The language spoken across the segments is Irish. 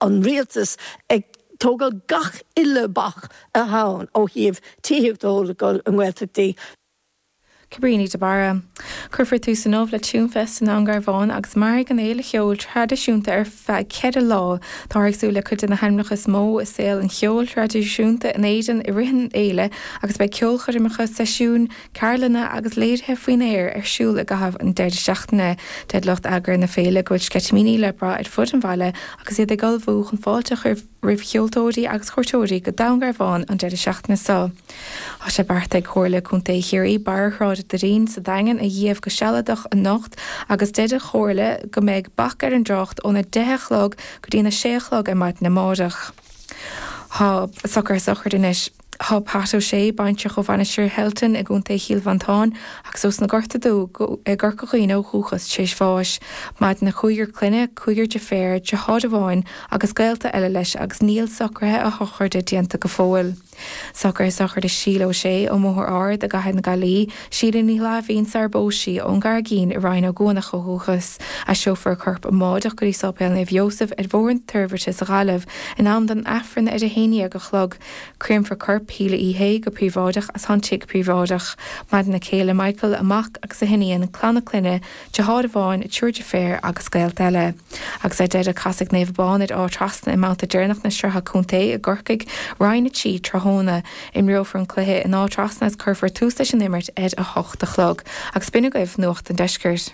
An rialtas ag tógáil gach uile bac atá ann ó thaobh tithíocht a thógáil i nGaeltachtaí. Cabríní de Barra. Cuirfear tús inniu le Tunefest i nDún Garbhán agus mairfidh an fhéile cheoil traidisiúnta ar feadh 4 lá. Táthar ag súil le cuid de na hainmneacha is mó i saol an cheoil thraidisiúnta in Éirinn i rith an fhéile agus beidh ceolchoirmeacha, seisiúin, ceardlanna agus léirithe faoin aer ar siúl i gcaitheamh an deireadh seachtaine. Deir lucht eagraithe na féile go bhfuil sceitimíní le brath ar fud an bhaile agus iad ag ullmhú chun fáilte a chur roimh cheoltóirí agus chuairteoirí go Dún Garbhán an deireadh seachtaine seo. Tá sé beartaithe ag Comhairle Contae Chiarraí Barra Shráid Doirín sa Daingean a dhíbh go sealadach anocht agus deir an Chomhairle go mbeidh bac ar an dtrácht óna 10 a chlog go dtína 6 a chlog ar maidin amáireach. Tá socruithe sochraide anois. Tá Pat O'Shea, baintreach ó Mhainistir Shelton i gContae Chill Mhantáin agus ós na Gorta Dubha i gCorca Dhuibhne ó dhúchas, tar éis bháis. Maireann a chúigear clainne, cúigear deirféar, deartháir amháin agus gaolta eile leis agus níl socruithe a shochraide déanta go fóill. Socruithe sochraide Síle O'Shea ón mBóthar Ard i gCathair na Gaillimhe, Síle Ní Fhlaithbhín sarar phós sí, ón gCarraigín i Rinn Ó gCuanach ó dhúchas. Aistreofar a corp amáireach go dtí Sáipéal Naomh Iósaf ar Bhóthar na Toirbhirte sa Ghaillimh in am don Aifreann ar a 11 a chlog. Créamfar corp Shíle Uí Shé go príobháideach as an tigh príobháideach. Maireann a céile Michael, a mac agus a hiníon, clann a clainne, deartháir amháin, triúr deirféar agus gaolta eile. Agus ar deireadh casfaidh Naomh Abán ar Áth Trasna i mbabhta deireanach na Sraithe Contae i gCorcaigh, Roinn 3, tráthnóna. Imreofar an cluiche in Áth Trasna agus cuirfear tús leis an imirt ar 8 a chlog. Agus b'in agaibh Nuacht an Deiscirt.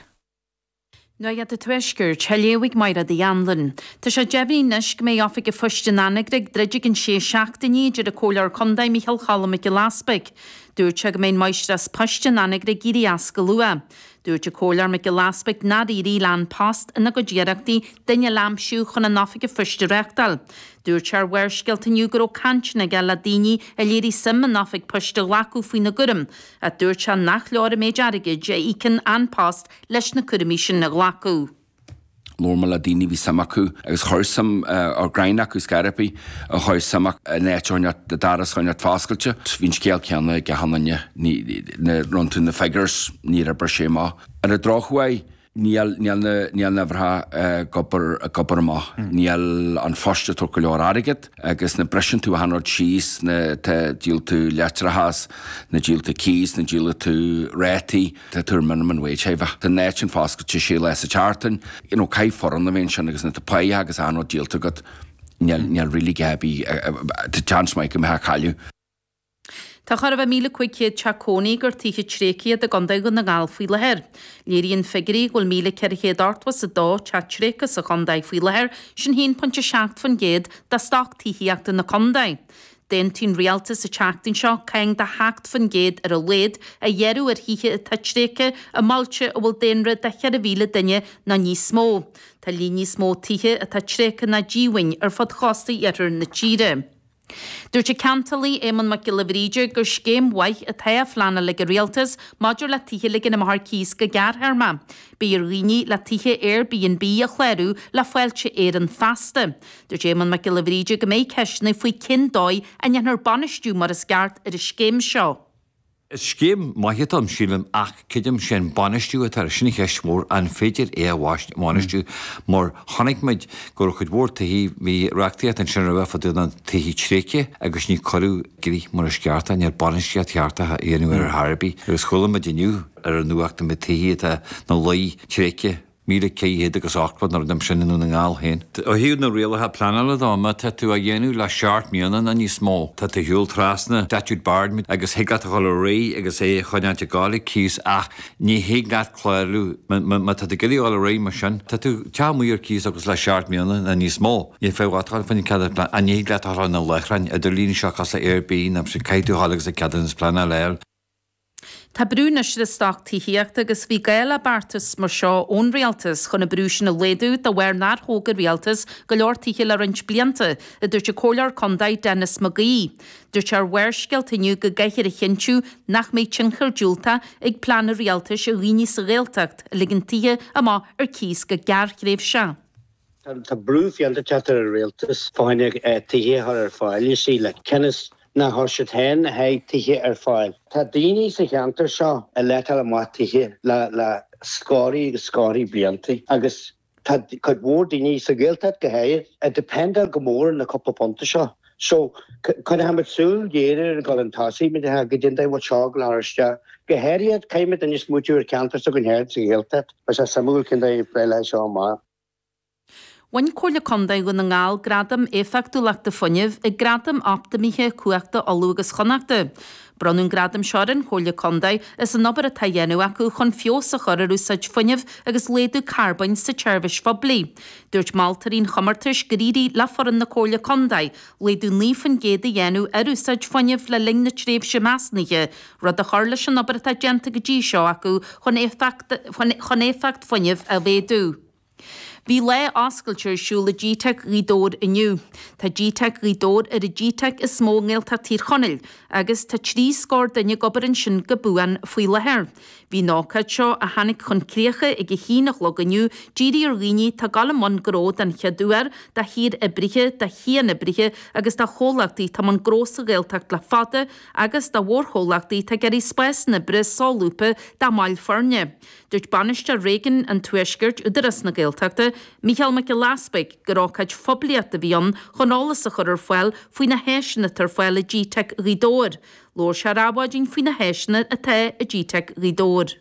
Nuacht an Tuaiscirt, á léamh ag Mairéad Uí Anluain. Tá sé deimhnithe anois go mbeidh Oifig an Phoist in Anagaire ag druid i gcionn sé seachtainí, a deir an Comhairleoir Contae Micheál Cholm Mac Giolla Easpaig. Dúirt sé go mbeidh an Máistreás Poist in Anagaire ag éirí as go luath. Dúirt an Comhairleoir Mac Giolla Easpaig nár éirigh le An Post ina gcuid iarrachtaí duine eile a aimsiú chun an Oifig an Phoist a reáchtáil. Dúirt sé ar Bharrscéalta inniu go raibh cainteanna aige le daoine a léirigh suim an Oifig Poist a ghlacadh faoina gcúram ach dúirt sé nach leor an méid airgid a íocann An Post leis na cúraimí sin a ghlacadh. Labhair mé le daoine a bhí suim acu agus chuir suim ar greim acu scor ar bith a chuir suim acu in áit a choinneáil doras a choinneáil foscailte. Bhí an scéal céanna ag achan duine, nuair a rinne tú na figures níor oibrigh sé amach. Ar an drochuair níl níl na níl na huimhreacha ag obair ag obair amach. Níl An Post ag tabhairt go leor airgead agus nuair a briseann tú achan rud síos nuair atá díol tú leictreachas, nuair díol tú cíos, nuair díol tú rátaí. Tá tú ar minimum wage a bheith. Tá an áit sin foscailte sé lá sa tseachtain. You know, caithfidh foireann a bheith ansin agus nuair atá páighe agus achan rud díolta agat, níl, níl really gá ar bith, tá chance maith go mbeifeá ag cailleadh. Tá chóir a bheith 1,500 teach cónaí gur tithe tréigthe iad i gContae Dhún na nGall faoi láthair. Léiríonn figiúirí go bhfuil 1,482 teach tréigthe sa chontae faoi láthair, sin 1.7% de stoc tithíochta na contae. D'aontaigh an Rialtas an tseachtain seo cáin de 7% ar a laghad a ghearradh ar thithe atá tréigthe i mbailte a bhfuil daonra de 4,000 duine nó níos mó. Tá líon níos mó tithe atá tréigthe ná díomhaoin ar fud chósta iarthar na tíre. Dúirt an ceantálaí Éamonn Mac Giolla Bhríde gur scéim mhaith atá á phleanáil ag an Rialtas maidir le tithe a ligean amach ar cíos go gearrthéarma. Beidh ar dhaoine le tithe Airbnb a chlárú le Fáilte Éireann feasta. Dúirt Éamonn Mac Giolla Bhríde go mbeidh ceisteanna faoi cén dóigh a ndéanfar bainistiú mar is ceart ar an scéim seo. Is scéim maith atá ann, sílim, ach creidim sé an bainistiú atá air, sin an cheist mhór, an féidir é a bhainistiú mar chonaic muid go raibh cuid mhór tithe, bhí reachtaíocht ansin roimhe fá dtaobh na tithe tréigthe agus ní cuireadh i gcrích mar is ceart é, níl bainistíocht cheart á dhéanamh ar ar chor ar bith agus chuala muid inniu ar an nuacht na tithe atá ina luí tréigthe. 1,400 agus 80 nó rud mar sin i nDún na nGall féin. Ó thaobh na rialacha pleanála dó, má tá tú á dhéanamh le seacht mbliana nó níos mó, tá tú ar shiúl trasna statute barred agus thig leat a dhul ar aghaidh agus é a choinneáilt ag gabháil ag cíos ach ní thig leat clárú má tá tú ag iarraidh a dhul ar aghaidh mar sin. Tá tú teach amuigh ar cíos agus le seacht mbliana nó níos mó, ní féidir leat a dhul fá choinne ceadúnas pleanála ach ní thig leat a dhul ar na láithreáin idirlín seo cosúil le Airbnb nó sin caithfidh tú a dhul agus an ceadúnas pleanála a fháil. Tá brú anois ar an stoc tithíochta agus bhí gá le beartas mar seo ón Rialtas chun an brú sin a laghdú de bharr nár thóg an Rialtas go leor tithe le roinnt blianta, a dúirt an Comhairleoir Contae Denis McGee. Dúirt sé ar Bharrscéalta inniu go gcaithfear a chinntiú nach mbeidh tionchar diúltach ag plean an Rialtais ar dhaoine sa Ghaeltacht a ligeann tithe amach ar cíos go gearrthréimhseach. Tá brú fiánta ag teacht ar an rialtas fá choinne tithe a chur ar fáil, you see, like, cionn is nár chuir siad féin a thuilleadh tithe ar fáil. Tá daoine sa cheantar seo ag letáil amach tithe le le scórthaí agus scórthaí blianta agus. Tá cuid mhór daoine sa Ghaeltacht go háirid ag dependáil go mór ar na cúpla punta seo. So, coinneochaimid súil ghéar air ag dul chun tosaigh, mar goidé an dóigh a bhfuil seo ag dul a chur isteach. Go háirithe, caithfimid anois smaoitiú ar cheantar s'againn féin sa Ghaeltacht. Beidh sé suimiúil cén dóigh a bpléileoidh seo amach. Bhain Comhairle Contae Dhún na nGall Gradam Éifeachtúlachta Fuinnimh ag Gradaim Optamaithe Cumhachta Uladh agus Chonnachta. Bronnadh an gradam seo ar an Chomhairle Contae as an obair atá á dhéanamh acu chun feabhas a chur ar úsáid fuinnimh agus laghdú carbóin sa tseirbhís phoiblí. Dúirt moltóirí an chomórtais gur éirigh le foireann na Comhairle Contae laghdú 9% a dhéanamh ar úsáid fuinnimh le linn na tréimhse measúnaithe, rud a chuir leis an obair atá déanta go dtí seo acu chun éifeacht fuinnimh a mhéadú. Bhí lá oscailte ar siúl i GTeic Ghaoth Dobhair inniu. Tá GTeic Ghaoth Dobhair ar an GTeic is mó i nGaeltacht Thír Chonaill agus tá 3 scór duine ag obair ansin go buan faoi láthair. Bhí an ócáid seo, a tháinig chun críocha ag a haon a chlog inniu, dírithe ar dhaoine atá ag dul i mbun gnó den chéad uair, do shaoroibrithe, do chianoibrithe agus do chomhlachtaí atá i mbun gnó sa Ghaeltacht le fada agus do mhórchomhlachtaí atá ag iarraidh spásanna oibre solúbtha dá mbaill foirne. Dúirt Bainisteoir Réigiún an Tuaiscirt, Údarás na Gaeltachta, Mícheál Mac Giolla Easpaig, gur ócáid phoiblíochta a bhí ann chun eolas a chur ar fáil faoi na háiseanna atá ar fáil i GTeic Ghaoth Dobhair. Labhair sé ar Adhmhaidin faoi na háiseanna atá i GTeic Ghaoth Dobhair.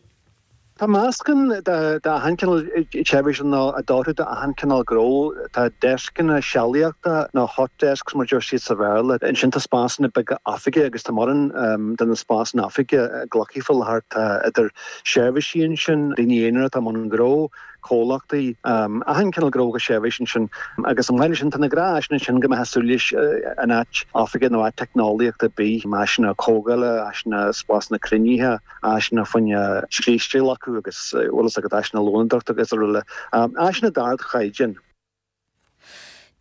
Tá meascán d'achan cineál seirbhís ann a d'oirfeadh d'achan cineál gnó. Tá deascanna sealaíochta nó hot desks mar a deir siad sa Bhéarla. Ansin tá spásanna beaga oifige agus tá mórán de na spásanna oifige glactha faoi láthair. Tá idir seirbhísí ansin, daoine aonair atá i mbun gnó, comhlachtaí, achan cineál gnó agus seirbhís ansin. Agus chomh maith leis sin, tá na gnáth-áiseanna ansin go mbeifeá ag súil leis in áit oifige nó áit teicneolaíochta ar bith, áiseanna comhdhála, áiseanna spásanna cruinnithe, áiseanna fá choinne scríste a ghlacadh agus, bhfuil fhios agat, áiseanna lónadóireachta agus araile. Áiseanna d'ardchaighdeán.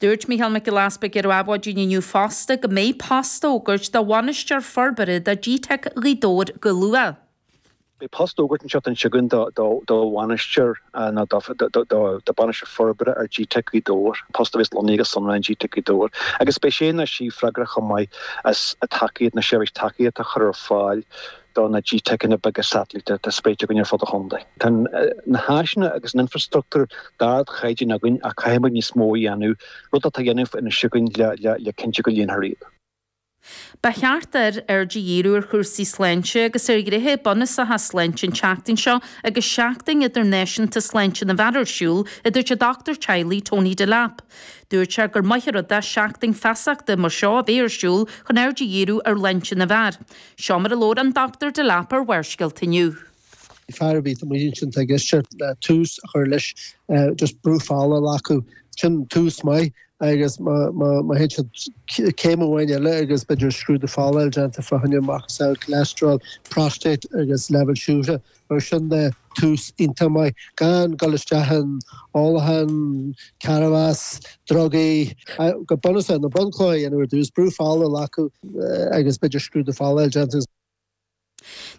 Dúirt Mícheál Mac Giolla Easpaig ar Adhmhaidin inniu fosta go mbeidh post á fhógairt do bhainisteoir forbartha do GTeic Ghaoth Dobhair go luath. Beidh post á fhógairt an tseachtain seo chugainn do bhainisteoir nó do bhainisteoir forbartha ar GTeic Ghaoth Dobhair, post a bheas lonnaithe go sonrath in GTeic Ghaoth Dobhair agus beidh sé nó sí freagrach chomh maith as tacaíocht na seirbhís tacaíochta a chur ar fáil do na GTeiceanna beaga satailíte atá spréite againn ar fud an chontae. Tá na háiseanna agus an infreastruchtúr d'ardchaighdeán againn ach caithfidh muid níos mó a dhéanamh, rud atá á dhéanamh anois againn le cinntiú go líonfar iad. Ba cheart d'fhir aird a dhíriú ar chúrsaí sláinte agus ar ghnéithe bunúsacha sláinte an tseachtain seo agus Seachtain Idirnáisiúnta Sláinte na bhFear ar siúl, a dúirt an dochtúir teaghlaigh Tony Delap. Dúirt sé gur maith an rud é seachtain feasachta mar seo a bheith ar siúl chun aird a dhíriú ar shláinte na bhfear. Seo mar a labhair an Dr Delap ar Bharrscéalta inniu. Fear ar bith amuigh ansin atá ag éisteacht le tús a chur leis just brú fola a ghlacadh. Sin tús maith agus má théann siad céim amháin eile agus b'fhéidir scrúdú fola déanta fá choinne macasamhail cholesterol, prostate agus leibhéal siúcra. Mar sin de, tús iontach maith. Gan dul isteach in ólachán, cannabas, drugaí. Go bunúsach, na bunchlocha a dhéanamh ar dtús, brú fola a ghlacadh agus b'fhéidir scrúdú fola a dhéanamh.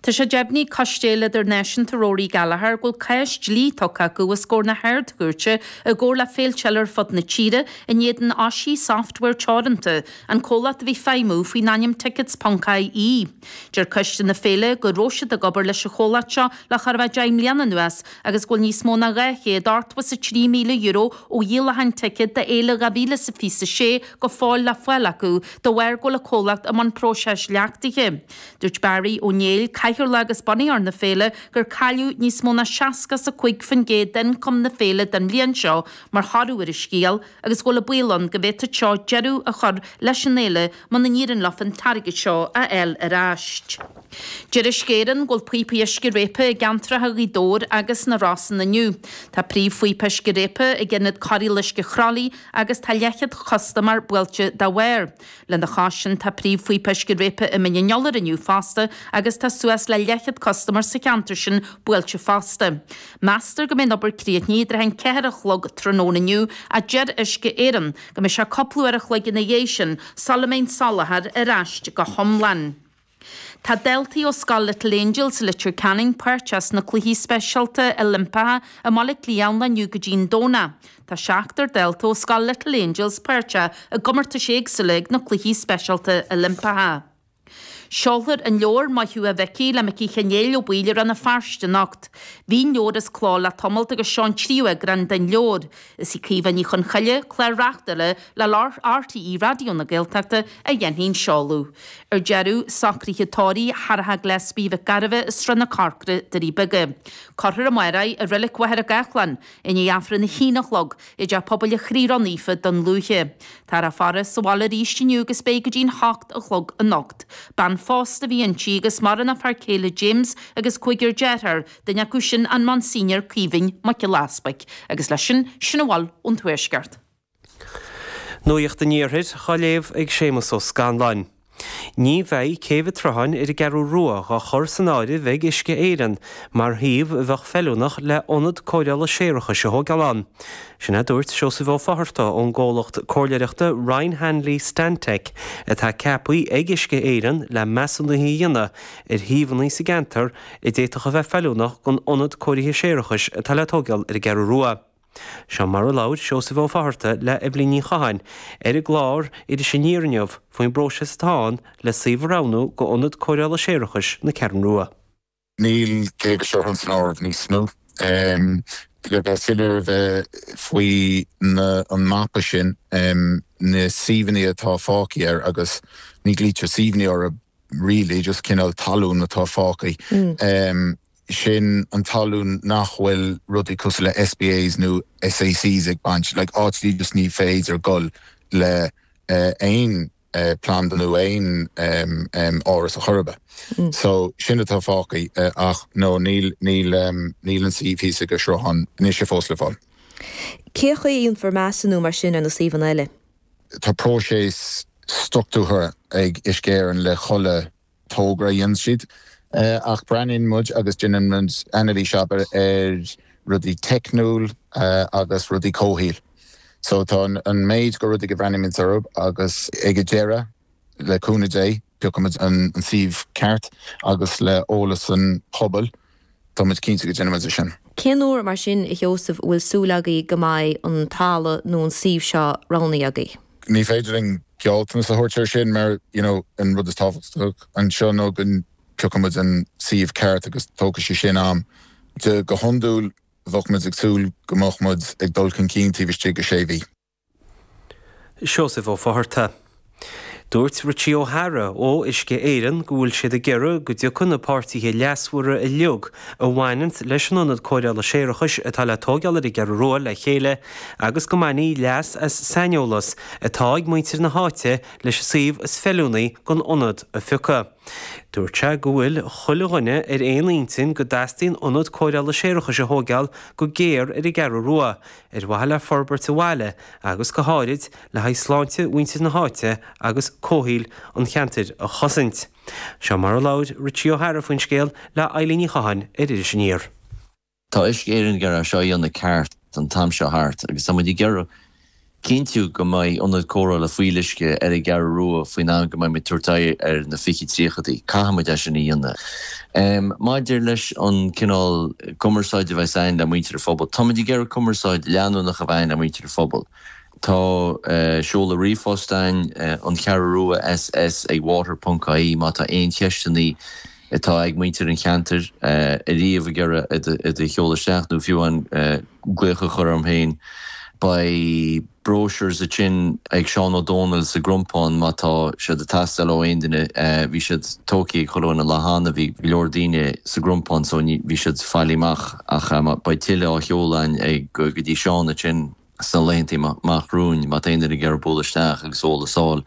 Tá sé deimhnithe ag Coiste Fhéile Idirnáisiúnta Rory Gallagher go bhfuil cás dlí tugtha acu os comhair na hArd-Chúirte i gcomhar le féilte eile ar fud na tíre in éadan Oisí Software Teoranta, an comhlacht a bhí ag feidhmiú faoin ainm Tickets ponc IE. Deir coiste na féile go raibh siad ag obair leis an chomhlacht seo le chóir a bheith 10 mbliana anuas agus go bhfuil níos mó ná €283,000 ó dhíolachán ticéad d'fhéile 2026 go fóill le fáil acu de bharr go bhfuil an comhlacht i mbun próiseas leachtaithe. Dúirt Barry Ó Néill, cathaoirleach agus bunaitheoir na féile, gur cailleadh níos mó ná 65% d'ioncam na féile don bhliain seo mar thoradh ar an scéal agus go bhfuil an baol ann go bhféadfadh seo deireadh a chur leis an fhéile muna n-éiríonn leo an t-airgead seo a fháil ar ais. Deir Uisce Éireann go bhfuil píopaí uisce réabtha i gceantracha Ghaoth Dobhair agus na Rosann inniu. Tá príomhphíopa uisce réabtha ag Ionad Cóireála Uisce Chroithlí agus tá leathchéad custaiméir buailte dá bharr. Lena chois sin tá príomhphíopa uisce réabtha i Mín an Iolair inniu fosta agus tá suas le leathchéad custaiméir sa cheantar sin buailte fosta. Meastar go mbeidh an obair críochnaithe i dtrátha an ceathair a chlog tráthnóna inniu ach deir Uisce Éireann go mbeidh sé cúpla uair a chloig ina dhiaidh sin sula mbeidh an soláthar ar ais go hiomlán. Tá daltaí ó Scoil Little Angels i Leitir Ceanainn páirteach sna Cluichí Speisialta Oilimpeacha i mBaile Átha Cliath ón lá inniu go dtí an Domhnach. Tá seachtar dalta ó Scoil Little Angels páirteach i gcomórtais éagsúla ag na Cluichí Speisialta Oilimpeacha. Seolfar an leabhar Maith Thú a Mhicí le Micí Chinéil Ó Baoill i Rann na Feirste anocht. Bhí an leabhar as cló le tamalt agus seo an tríú eagrán den leabhar. Is í Caoimhe Ní Chonchoille, clár-reachtaire le RTÉ Raidió na Gaeltachta a dhéanfaidh an seoladh. Ar deireadh, socruithe tórraimh Shártha Gillespie Mhic Gairbheith i Srath na Corcra, Doirí Beaga. Cuirfear amárach í i Reilig Mhachaire Gathlán i ndiaidh Aifreann a haon a chlog i dTeach Pobail an Chroí Ró-Naofa, Dún Lúiche. Táthar á faire sa bhaile arís inniu agus beidh go dtí'n hocht a chlog anocht. Bean phósta a bhí inti agus maireann a fear céile James agus cúigear dearthár, duine acu sin an Monsignor Caoimhín Mac Giolla Easpaig. Agus leis sin, sin a bhfuil ón Tuaisceart. Nuacht an Iarthair á léamh ag Séamus Ó Scanláin. Ní bheidh Céibh an tSrutháin ar an gCeathrú Rua dhá chur san áireamh ag Uisce Éireann mar shuíomh a bheadh feiliúnach le ionad cóireála séarachais a thóigeáil ann. Sin é a dúirt Seosamh Ó Fátharta ón gcomhlacht comhairleoireachta Ryan Hanley Stantec atá ceaptha ag Uisce Éireann le measúnuithe a dhéanamh ar shuíomhanna sa gceantar a d'fhéadfadh a bheith feiliúnach don ionad cóirithe séarachais atá le tóigeáil ar an gCeathrú Rua. Seo mar a labhair Seosamh Ó Fátharta le Eibhlín Ní Chatháin ar an gclár Iris Aniar inniu faoin bpróiseas atá ann le suíomh a roghnú go ionad cóireála séarachais na Ceathrún Rua. Níl Céibh an tSrutháin san áireamh níos mó. Le bheith soiléir bheith faoi an mapa sin, na suíomhanna atá fágtha air agus ní ghlaoitear suíomhanna orthu really, just cineál talún atá fágtha. Sin an talún nach bhfuil rudaí cosúil le SPAs nó SACs ag baint, like áiteanna just ní féidir dul le aon planda nó aon áras a chur ar bith. So sin atá fágtha ach no níl níl níl an suíomh thíos ag an sruthán anois fós le fáil. Cén chaoi a dhéanfar measúnú mar sin ar na suíomhanna eile? Tá próiseas struchtúrtha ag Uisce Éireann le chuile togra a dhéanann siad. Ach breathnaíonn muid agus déanann muid anailís abair ar rudaí teicniúil agus rudaí comhshaoil. So tá an méid go rudaí go bhreathnaímid orthu agus ag an deireadh, le cúnamh Dé, piocfaimid an suíomh ceart agus le eolas an pobail, tá muid cinnte go déanfaimid é sin. Cén uair, mar sin, a Sheosaimh, a bhfuil súil agaibh go mbeidh an talamh nó an suíomh seo roghnaithe agaibh? Ní féidir linn gealltanas a thabhairt ar sin mar, you know, an rud is tábhachtach anseo ná go bpiocfaimid an suíomh ceart agus tógfaidh sé sin am. De go hiondúil bheadh muid ag súil go mbeadh muid ag dul chun cinn taobh istigh de sé mhí. Seosamh Ó Fátharta. Dúirt Richie O'Hara ó Uisce Éireann go bhfuil siad ag iarraidh go dtiocfaidh na páirtithe leasmhara uilig a bhaineanns leis an ionad cóireála séarachais atá le tóigeáil ar an gCeathrú Rua le chéile agus go mbainfí leas as saineolas atá ag muintir na háite leis an suíomh is feiliúnaí don ionad a phiocadh. Dúirt sé go bhfuil chuile dhuine ar aon intinn go dteastaíonn ionad cóireála séarachais a thóigeáil go géar ar an gCeathrú Rua ar mhaithe le forbairt an bhaile agus go háirid le haghaidh sláinte mhuintir na háite agus comhshaoil an cheantair a chosaint. Seo mar a labhair Richie O'Hara faoin scéal le Eilín Ní Chatháin ar Iris Aniar. Tá Uisce Éireann ag iarraidh é seo a dhéanamh ceart an t-am seo thart agus tá muid ag iarraidh cinntiú go mbeidh ionad cóireála fuíolluisce ar an gCeathrú Rua faoin am go mbeidh muid ag tabhairt aghaidh ar na 2030idí. Caithfidh muid é sin a dhéanamh. Maidir leis an cineál cumarsáide a bheas againn le muintir an phobail, tá muid ag iarraidh cumarsáid leanúnach a bheith againn le muintir an phobail. Tá seoladh ríomhphost againn, an Cheathrú Rua SS ag water ponc ie má tá aon cheisteanna atá ag muintir an cheantair ariamh ag iarraidh iad a sheoladh isteach nó fiú amháin glaoch a chur orm féin. Beidh brochures ansin ag Seán Ó Dónaill sa gCrompán má tá siad ag teastáil ó aon duine. Bhí siad tógtha ag chuile dhuine an lá cheana, bhí go leor daoine sa gCrompán so bhí siad faighte amach ach beidh tuilleadh á sheoladh againn ag go dtí Seán ansin. sna laethanta amach romhainn, má tá aon duine ag iarraidh bualadh isteach agus eolas a fháil.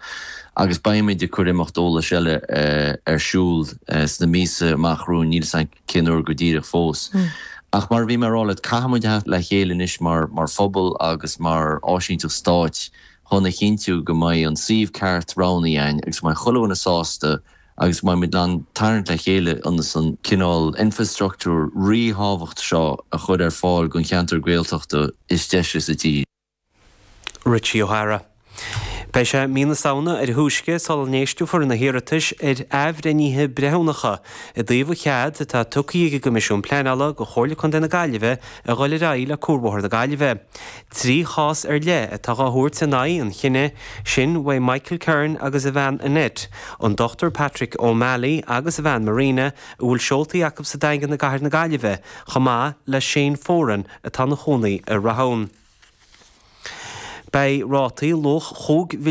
Agus beimid ag cur imeacht eolais eile ar siúl sna míosa amach romhainn, níl 'fhios a'm cén uair go díreach fós. Ach mar a bhí mé a rá leat, caithfidh muid a theacht le chéile anois mar phobal agus mar áisínteacht stáit chun a chinntiú go mbeidh an suíomh ceart roghnaithe againn agus go mbeidh chuile dhuine sásta agus go mbeidh muid in ann tarraingt le chéile ionas an cineál infreastruchtúr ríthábhachtach seo a chur ar fáil don cheantar Gaeltachta is deise sa tír. Richie O'Hara. Beidh sé mí na Samhna ar a thúisce sula n-éisteofar na hiarratais ar athbhreithnithe breithiúnacha i dtaobh an chead atá tugtha ag an gCoimisiún Pleanála do Chomhairle Contae na Gaillimhe a dhul ar aghaidh le Cuarbhóthar na Gaillimhe. 3 chás ar leith atá dhá thabhairt in aghaidh an chinnidh sin uaidh Michael Kern agus a bhean Annette, an Dr Patrick O'Malley agus a bhean Marina, a bhfuil seoltaí acu sa Daingean i gcathair na Gaillimhe, chomh maith le Shane Foran atá ina chónaí i Rathún. Beidh rátaí luach 5 mhilliún.